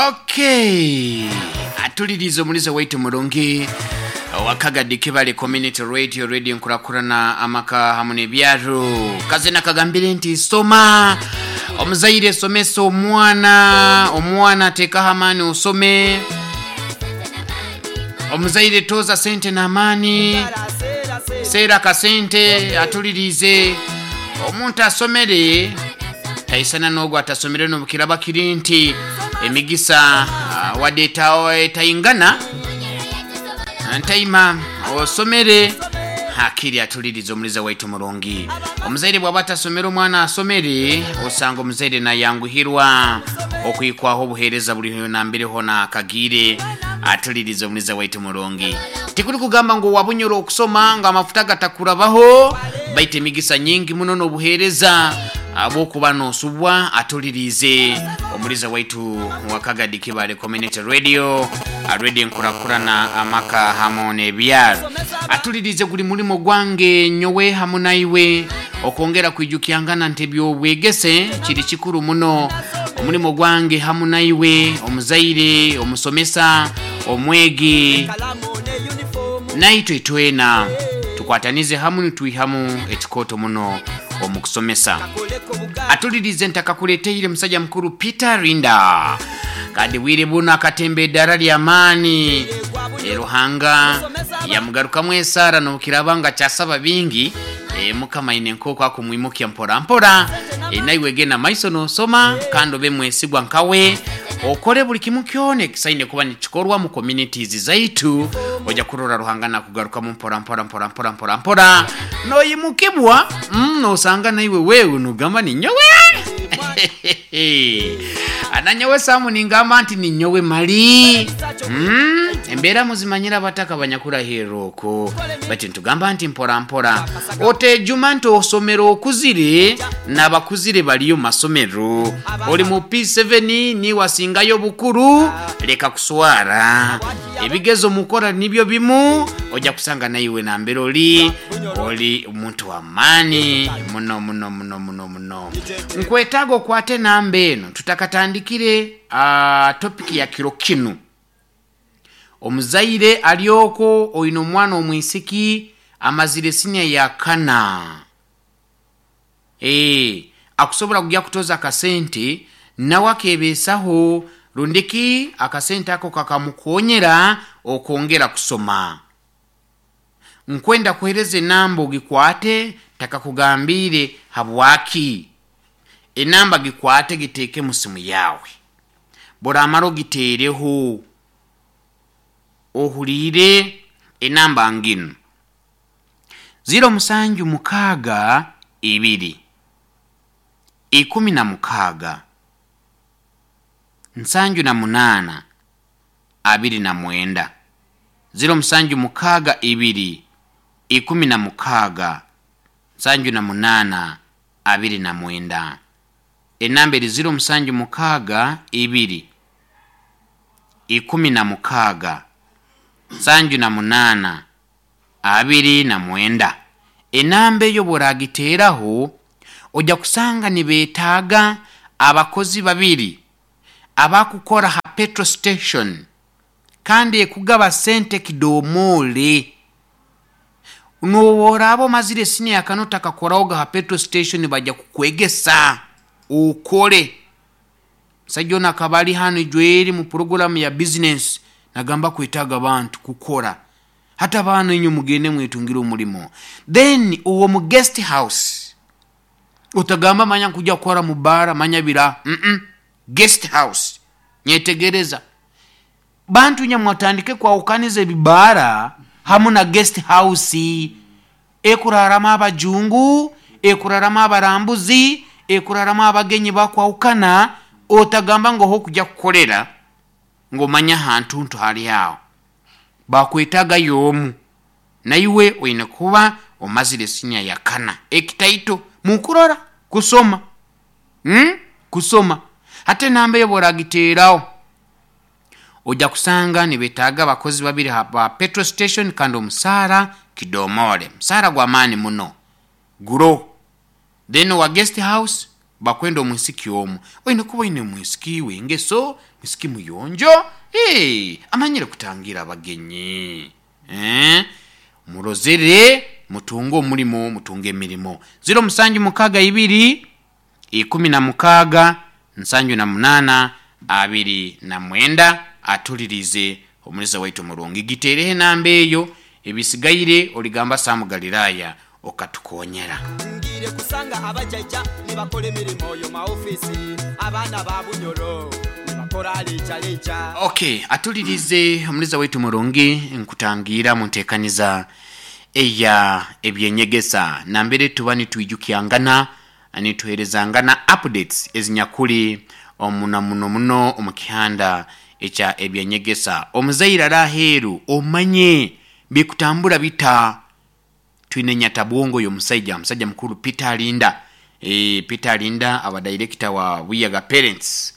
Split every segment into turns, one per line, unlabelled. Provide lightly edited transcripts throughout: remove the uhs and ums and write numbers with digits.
Okay, atuliriza omulizo waitu murungi wakagadi Kibale Community Radio, radio nkurakurana amaka hamu n'ebyaro. Kazina kagambire nti soma omuzaire, somesa omwana, omwana ateekaho amaani osome. Omuzaire toza sente n'amaani, seera akasente. Atulirize, omuntu asomere taisana n'ogwo atasomere, n'obukiraba kiri nti emigisa wadde etaingana ntaima osomere hakiri. Atuliriza omuliza waitu murungi, omuzaire bwaba atasomere omwana asomere, osanga omuzaire nayanguhirwa okwikwaho obuhereza buli nambere hona akagire. Atuliriza omuliza waitu murungi, tikuri kugamba ngu wabunyura okusoma nga amafuta gatakurabaho, baita emigisa nyingi muno n'obuhereza abwokuba nosubwa. Atulirize omuliza waitu wakagadi Kibale Community Radio, radio nkurakurana amaka hamu n'ebyaro. Atulirize, guli mulimo gwange nyowe hamu naiwe okwongera kwijukyangana nti ebyobwegese kiri kikuru muno. Omulimo gwange hamu naiwe, omuzaire, omusomesa, omwegi, naitwe twena tukwatanize hamu nitwihamu ekikoto muno omu kusomesa. Atulirize, ntakakuleteire musajja mukuru Peter Rinda, kandi bwire buno akatemba eddara ly'amaani. Ruhanga yamugarukamu esaara nobukiraba nga kyasaba bingi. Mukama aine nk'oku akumwimukya mpora mpora. Naiwe genda maiso nosoma kandi obe mwesigwa nkawe, okole buli kimu kyona ekisaine kuba nikikorwa mu communities zaitu. Ojja kurora Ruhanga nakugarukamu mpora mpora mpora mpora mpora mpora, noyimukibwa, nosanga naiwe wewe nugamba ninyowe ananyowe samu ningamba nti ninyowe mali. Embeera muzimanyira abataka banyakurahirra okwo, bati ntugamba nti mpora mpora otejuma nti osomero okuzire n'abakuzire baliyo masomero. Oli mu P7 niwasingayo bukuru, leka kuswara, ebigezo mukora nibyo bimu. Ojja kusanga naiwe nambere oli oli omuntu w'amaani muno muno muno muno muno. Nkwetaaga okwate namba eno tutakatandikire topiki ya kiro kinu. Omuzaire alyoko oine omwana omwisiki amazire sinia ya kana, akusobola kujya kutoza akasente nawe akebeesaho, rundiki akasente ako kakamukonyera okwongera kusoma, nkwenda kuhereza enamba ogikwate. Takakugambire habwaki enamba, gikwate giteeke mu simu yawe, buramara ogiteereho ohuliire enamba nginu: 0762 16 78 29, 0762 16 78 29. Enamba eri 0762 16 78 29. Enamba eyo bworagiteeraho ojja kusanga nibeetaaga abakozi babiri abakukora ha petrol station, kandi ekugaba sente kidomole. Noworaba omazire siniya kano takakorahoga ha petrol station, bajja kukwegesa ukole. Musajja ono akaba ali hano ijweri mu puroguramu ya business, nagamba kwetaaga abantu kukora, hata abaana inywe mugende mwetungire omulimo. Then uwo mu guest house, utagamba manya nkuja kukora mu bara manya bira. Guest house, nyetegereza, bantu nyamwatandike kwawukaniza ebibara hamu na guest house ekuraramu abajungu, ekuraramu abarambuzi, ekuraramu abagenyi bakwawukana. Otagamba ngo hokujya kukorera ngomanya ahantu ntu hali aho bakwetaaga yomu, naiwe oine kuba omazire sinia ya kana ekitaito mukurora kusoma, Kusoma hata enamba eyo boragiteeraho ojja kusanga nibetaaga abakozi babiri ba petrol station, kandi omusaara kidomole, musaara gw'amaani muno guro. Then owa guest house. Bakwenda omwisiki omu. Oine kuba oine omwisiki w'engeso, mwisiki muyonjo, eeh, amanyire kutangira abagenyi. Eeh, murozere mutunge omulimo, mutunge emirimo. Ziro musanju mukaaga ibiri, ikumi na mukaaga, nsanju na munaana, abiri na mwenda. Atulirize omuliza waitu omurungi. Giteereho enamba eyo, ebisigaire oligamba Sam Galilaya okatukonyera.
Ngiire kusanga abajaija ni bakola emirimo yo maofiisi, abaana ba Bunyoro ni bakora leija leija.
Ok, atulirize omuliza waitu omurungi, nkutangiira mu nteekaniza eya ebyenyegesa nambere tuba nitwijukyangana, nituherezangana updates ezinyakuli omu na muno muno omu kihanda ekya ebyenyegesa. Omuzaire ari aheeru omanye bikutambura bita. Twine nyatabwongo y'omusaija, musaija mukuru Peter Alinda. Eeh, Peter Alinda aba director wa Buyaga Parents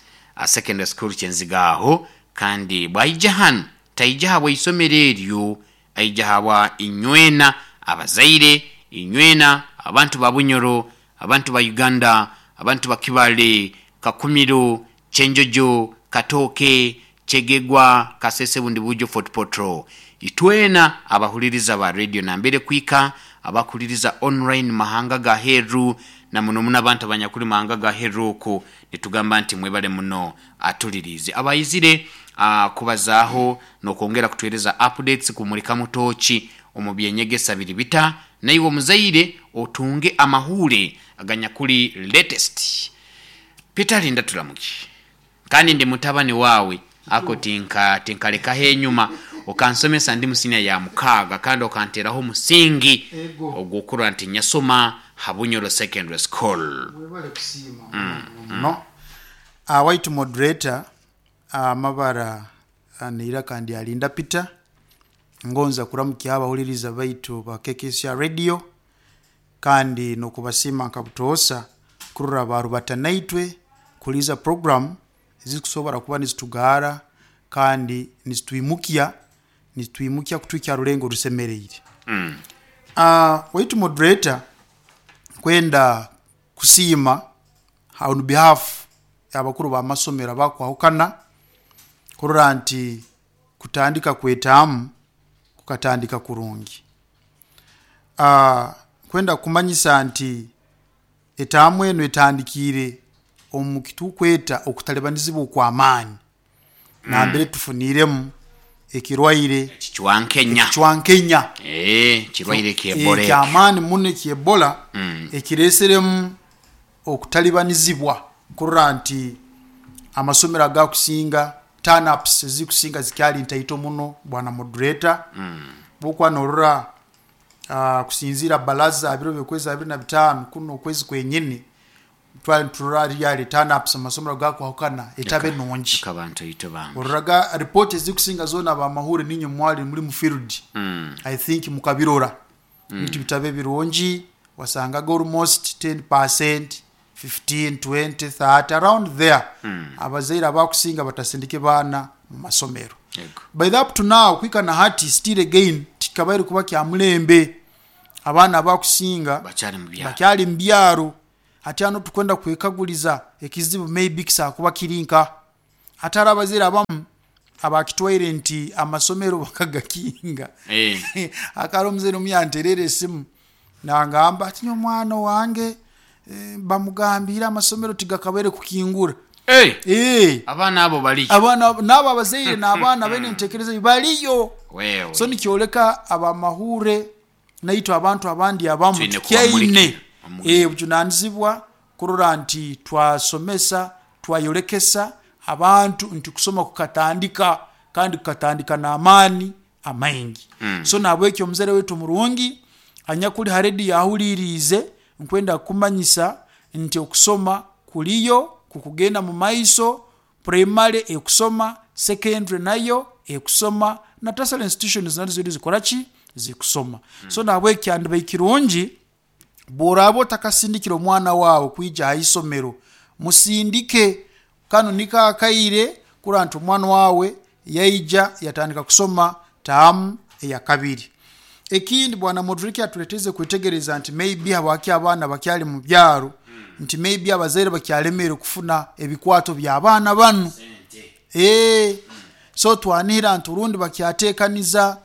Secondary School Kyenziga aho, kandi bw'aija hanu taija habwa isomero eryo, aija habwa inywena abazaire, inywena abantu ba Bunyoro, abantu ba Uganda, abantu ba Kibale, Kakumiro, Kyenjojo, Katooke, Kyegegwa, Kasese Bundibugyo, Fort Portal. Itwena abahuliriza ba radio nambere kwika, abakuhuliriza online mahanga ga heru, na muno muno abantu abanyakuli mahanga ga heru oku, nitugamba nti mwebale muno atuliriize. Abaizire kubazaaho n'okwongera kutuhereza updates kumurikamu tooki omu by'enyegesa biri bita, naiwe omuzaire otunge amahuure aganyakuli latest. Peter Linda Tulamuki, Kandi ndi mutabani waawe, ako tinkalekaho enyuma. Okansomesa ndi mu siniya ya mukaaga kandi okanteeraho omusingi ogw'okurora nti nyasoma ha Bunyoro Secondary School.
Webale kusiima muno muno muno. Waitu moderator, amabara neiraka ndi Alinda Peter. Ngonza kuramukya abahuliriza baitu ba KKCR Radio kandi n'okubasiima nka butoosa kurora baarubata naitwe kuhuliiriza puroguramu ezikusobora kuba nizitugaara kandi nizitwimukya, nizitwimukya kutuhikya ha rulengo orusemeriire. Waitu moderator, nkwenda kusiima on behalf y'abakuru b'amasomero abakwahukana kurora nti kutandika kwetaamu kukatandika kurungi. Nkwenda kukumanyisa nti etaamu enu etandikiire omu kitukweta okutalibanizibwa okw'amaani nambere tufuniiremu ekirwaire
Ekicwankenya.
ekicwankenya
Ekirwaire eky'Ebola ekyo.
Eky'amaani muno eky'Ebola ekireeseremu okutalibanizibwa kurora nti amasomero agakusinga turn ups ezikusinga zikyali ntaito muno bwana moderator. Bwokuba norora kusinziira baraza biro byokwezi 25 kunu okwezi kwenyini twali niturora really turn ups amasomero gakwahukana etabe nungi.
Ekaba ntaito bambi.
Ororaga report ezikusinga zoona abamahure ninywe mwali muri mu field I think mukabirora. Bintu bitabe birungi wasangaga almost 10%, 15, 20, 30 around there abazaire abakusinga batasindike baana mu masomero.
Ego.
By the up to now kuhika na hati still again tikikabaire kuba kya mulembe abaana abakusinga
Bakyali mu byaro.
bakyali mu byaro. Hati hanu tukwenda kwekaguliza ekizibu maybe kisobola kuba kiri nka Ate hariho abazaire abamu abakitwaire nti amasomero bakagakinga. Hakaba hariho omuzaire omu yantereire esimu nangamba ati nyowe omwana owange bamugambiire amasomero tigakabaire kukingura.
Abaana abo bariyo.
Abaana abo n'abo abazaire n'abaana abaine entekereza eyo bariyo. So nikyoleka abamahuure naitwe abantu abandi abamu
Twine
tukyaine
kubamurikira omu
obujunanizibwa kurora nti twasomesa, twayolekesa abantu nti kusoma kukatandika kandi kukatandika n'amaani amaingi. So nahabwekyo omuzaire waitu omurungi anyakuli ha rediyo ahuliiriize, nkwenda kukumanyisa nti okusoma kuliyo, kukugenda mu maiso, Primary ekusoma, secondary nayo ekusoma na tertiary institutions nazo ziriyo nizikora ki? Zikusoma. So nahabweki kyandibaire kirungi bworaba otakasindikire omwana waawe kwija aha isomero, musindike kanu niko akaire kurora nti omwana waawe yaija yatandika kusoma taamu eyakabiri. Ekindi bwana moderator atuleteize kwetegereza nti maybe habwaki abaana bakyali mu byaro. Nti maybe abazaire bakyalemere kufuna ebikwato by'abaana banu. So twanihira nti orundi bakyateekaniza,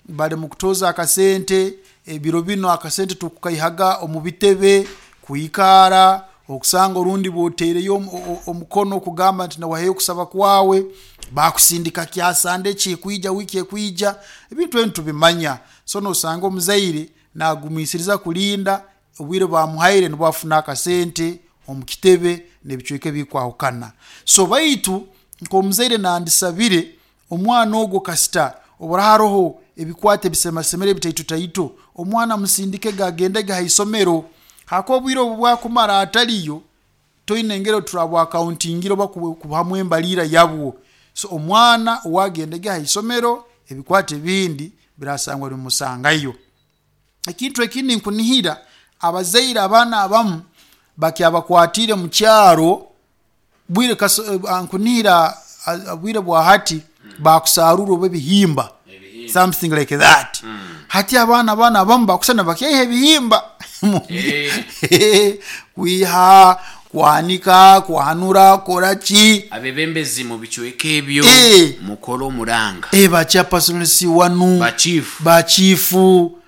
bali mu kutoza akasente. Ebiro binu akasente tukukaihaga omu bitebe kwikara okusanga orundi bwotereyo omukono kugamba nti nawaheyo okusaba kwawe, bakusindika kyasande ekikwija, wiiki ekwija. Ebintu ebi tubimanya. So nosanga omuzaire nagumisiriza kulinda obwire bamuhaire nubwo afuna akasente omu kitebe n'ebicweka ebikwahukana. So baitu nk'omuzaire nandisabire omwana ogwo, kasita obura haroho ebikwato ebisemasemere bitaito taito, omwana musindikege agendege ha isomero, hako obwire obu bwakumara ataliyo toine engeri turabwakauntingire oba kubuhamu embalira yabwo. So omwana owagendege ha isomero, ebikwato ebindi birasangwa nibimusangayo. Ekintu ekindi, nkunihira abazaire abaana abamu bakyabakwatire mu kyaro bwire nkunihira bwire bwa hati bakusarura oba ebihimba, something like that. Hati abaana banu abamu bakusana bakyaiha ebihimba kwiha kwanika kwanura kora ki.
Abebembezi mu bicweka ebyo, mukole omuranga.
Ba chairpersons wanu,
bachifu,
bachifu,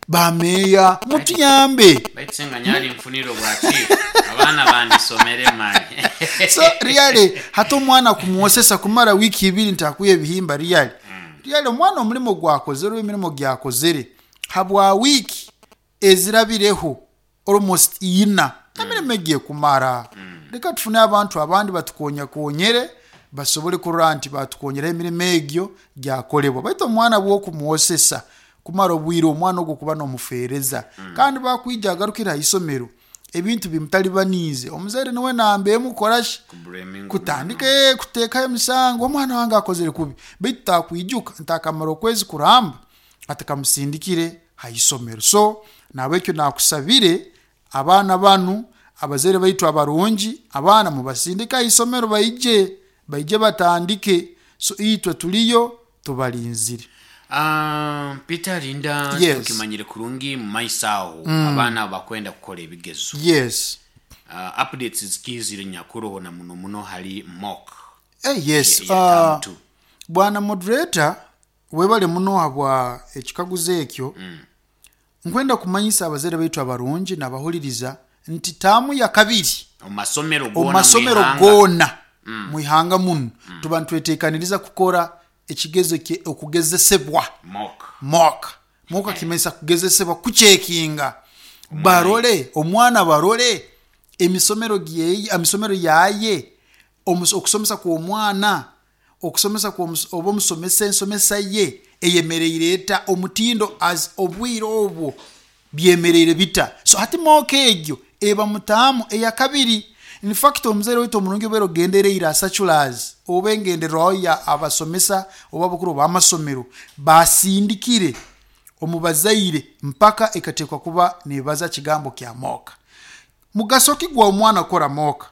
bameya, mutuyambe.
Baitu senga nyali nfunire obwa chief, abaana bandisomere mani.
So really hati omwana kumwosesa kumara wiiki 2 ntakuya ebihimba, really really omwana omulimo gwakozere oba emirimo gyakozere habwa wiiki ezirabireho almost 4, emirimo egiye kumara. Leka tufune abantu abandi batukonyakonyere, basobole kurora nti batukonyeraho emirimo egyo gyakolebwa. Baitu omwana bwokumwosesa kumara obwire, omwana ogwo kuba nomufeereza, kandi bakwija agarukire ha isomero ebintu bimutalibaniize, omuzaire niwe namba emu kukorashi, kutandika kuteekaho emisango, omwana wange akozere kubi. Baitu takwijuka ntakamara okwezi kuramba atakamusindikire ha isomero. So nahabwekyo nakusabire abaana banu, abazaire baitu abarungi, abaana mubasindike ha isomero, baije batandike. So itwe tuliyo tubalinzire.
Peter Linda.
Yes.
Tukimanyire kurungi mu maiso aho abaana bakwenda kukora ebigezo. Updates zikizire nyakuroho na muno muno hali mock
Yes.
ya term two.
Bwana moderator, webale muno habwa ekikaguzo ekyo. Nkwenda kumanyisa abazaire baitu abarungi n'abahuliriza nti taamu ya kabiri
omu masomero
omu
goona
masomero
mwihanga.
Goona mwihanga muno tuba nitwetekaniriza kukora ekigezo okugezesebwa.
Mock.
Mock kimanyisa kugezesebwa, kucekinga barole omwana, barole emisomero gyeye, emisomero yaye, okusomesa kw'omwana, okusomesa oba omusomesa ensomesa ye eyemereire eta, omutindo as obwire obwo byemereire bita. So hati mock egyo eba mutaamu eya kabiri. In fact omuzaire waitu omurungi, obeire ogendereire asachulazi oba engenderwaho ya abasomesa oba abakuru b'amasomero basindikire omu bazaire, mpaka ekateekwa kuba nebaza kigambo kya mock. Mugaso ki gwa omwana kukora mock?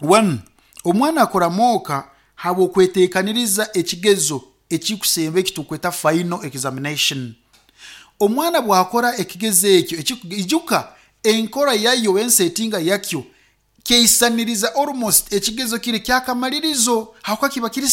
One, omwana akora mock habwokwetekaniriza ekigezo ekikusemba ekitukweta final examination. Omwana bwakora ekigezo ekyo, ijuka enkora yayo, ensetinga yakyo keisaniriza almost ekigezo kiri kyakamalirizo, hakuba kiba kiri.